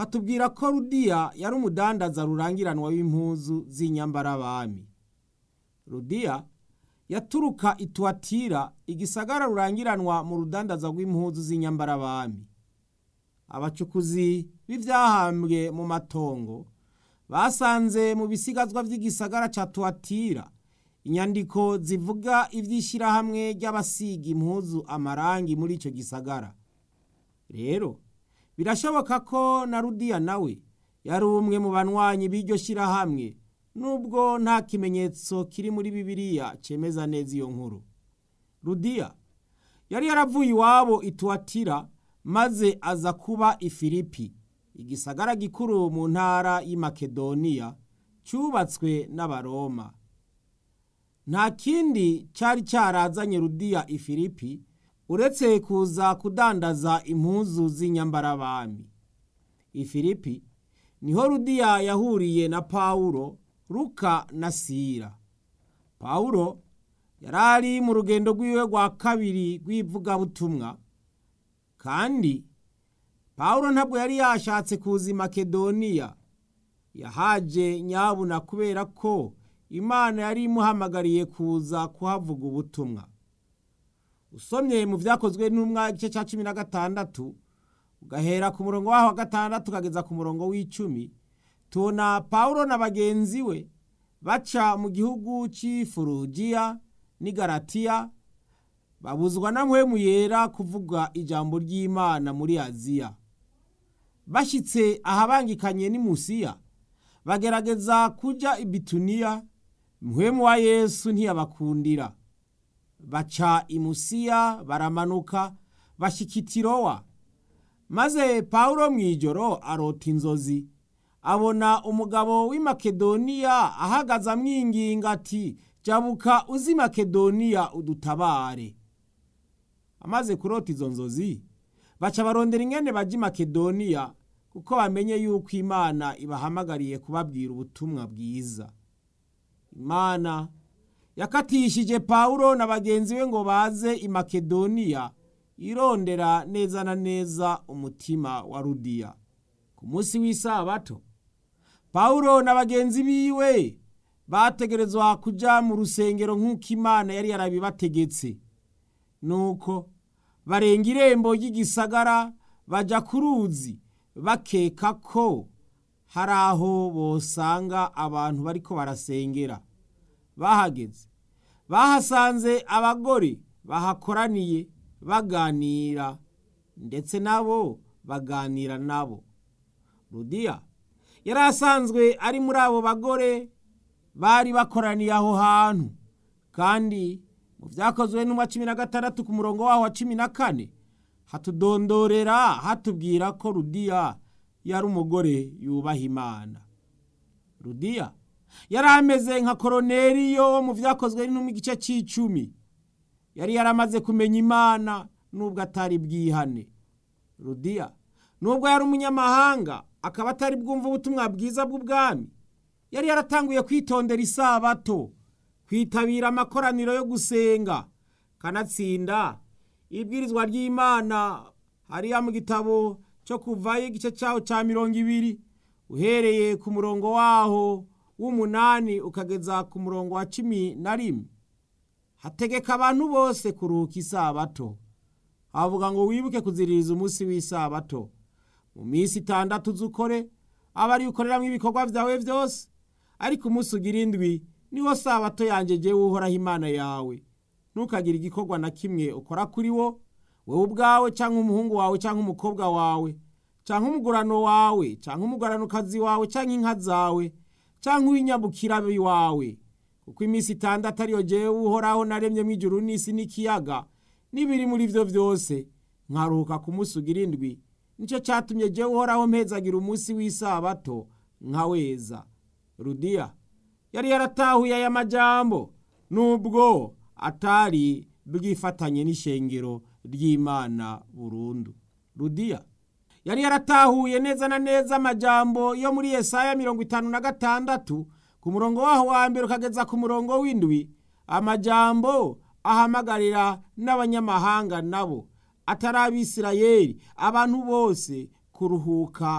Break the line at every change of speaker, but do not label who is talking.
Hatubwira ko Rudiya yari umudandaza rurangiranwa w'impuzu z'inyambarabami. Rudiya yaturuka i Tuwatira, igisagara rurangiranwa mu rudandaza rw'impuzu z'inyambarabami. Abacukuzi b'ivyahambwe mu matongo basanze mu bisigazwa vy'igisagara ca Tuwatira inyandiko zivuga ivy'ishirahamwe ry'abasiga impuzu amarangi muri ico gisagara. Rero birashoboka ko na Rudiya nawe yari umwe mu banywanyi b'iryo shirahamwe, nubwo nta kimenyetso kiri muri Bibiliya cemeza neza iyo nkuru. Rudiya yari yaravuye iwabo i Tuwatira maze aza kuba i Filipi, igisagara gikuru mu ntara y'i Makedoniya cubatswe n'Abaroma. Nta kindi cari carazanye Rudiya i Filipi uretse kuza kudandaza impuzu z'inyambarabami. I Filipi niho Rudiya yahuriye na Pawulo, Luka na Sila. Pawulo yarari mu rugendo rwiwe rwa kabiri rw'ivugabutumwa, kandi Pawulo ntabwo yari yashatse kuza i Makedoniya. Yahaje nyabuna kubera ko Imana yari imuhamagariye kuza kuhavuga ubutumwa. Usomye mu Vyakozwe n'Intumwa igice ca 16 ugahera ku murongo waho wa 6 ukageza ku murongo w'icumi, tubona Pawulo na bagenzi we baca mu gihugu c'i Furugiya n'i Galatiya, babuzwa na Mpwemu Yera kuvuga ijambo ry'Imana muri Aziya. Bashitse ahabangikanye n'i Musiya, bagerageza kuja i Bituniya, Mpwemu wa Yesu ntiyabakundira. Baca i Musiya baramanuka bashika i Tirowa. Maze Pawulo mw'ijoro arota inzozi, abona umugabo w'i Makedoniya ahagaze amwinginga ati: "Jabuka uze i Makedoniya udutabare." Amaze kurota izo nzozi, baca barondera ingene baja i Makedoniya, kuko bamenye yuko Imana ibahamagariye kubabwira ubutumwa bwiza. Imana yakatishije Pawulo na bagenzi be ngo baze i Makedoniya, irondera neza na neza umutima wa Rudiya. Ku munsi w'isabato, Pawulo na bagenzi biwe bategerezwa kuja mu rusengero nk'uko Imana yari yarabibategetse. Nuko barenga irembo ry'igisagara baja ku ruzi, bakeka ko hari aho bosanga abantu bariko barasengera. Bahageze bahasanze abagore bahakoraniye baganira, ndetse nabo baganira nabo. Rudiya yari asanzwe ari muri abo bagore bari bakoraniye aho hantu, kandi mu Vyakozwe n'Intumwa 16 ku murongo waho wa 14 hatudondorera hatubwira ko Rudiya yari umugore yubaha Imana. Rudiya yari ameze nka Koroneliyo wo mu Vyakozwe n'Intumwa igice c'icumi. Yari yaramaze kumenya Imana nubwo atari bwihane. Rudiya nubwo yari umunyamahanga akaba atari bwumva ubutumwa bwiza bw'ubwami, yari yaratanguye kwitondera isabato, kwitabira amakoraniro yo gusenga, kanatsinda ibwirizwa ry'Imana hariya mu gitabo cyo Kuvayo igice cyaho ca 20 uhereye ku murongo waho w'8 ukageza ku murongo wa 11. Hategeka abantu bose kuruhuka isabato. Havuga ngo wibuke kuziririza umunsi w'isabato. Mu minsi 6 uzukore, aba ari ukoreramwo ibikorwa vyawe vyose, ariko umunsi ugira indwi niwo sabato yanje jewe Uhoraho Imana yawe. Ntukagire igikorwa na kimwe ukora kuri wo, wewe ubwawe canke umuhungu wawe canke umukobwa wawe, canke umugurano wawe canke umuguranokazi wawe canke inka zawe canke uw'inyabukira wawe, kuko iminsi 6 ariyo jewe Uhoraho naremyemwo ijuru n'isi n'ikiyaga n'ibiri muri vyo vyose, nkaruhuka ku munsi ugira indwi. Nico catumye jewe Uhoraho mpezagira umunsi w'isabato nkaweza. Rudiya yari yaratahuye aya majambo nubwo atari bwifatanye n'ishengero ry'Imana burundu. Rudiya yari yaratahuye neza na neza amajambo yo muri Yesaya 56 ku murongo waho wa 1 ukageza ku murongo w'7, amajambo ahamagarira n'abanyamahanga nabo atari Abisirayeli, abantu bose kuruhuka.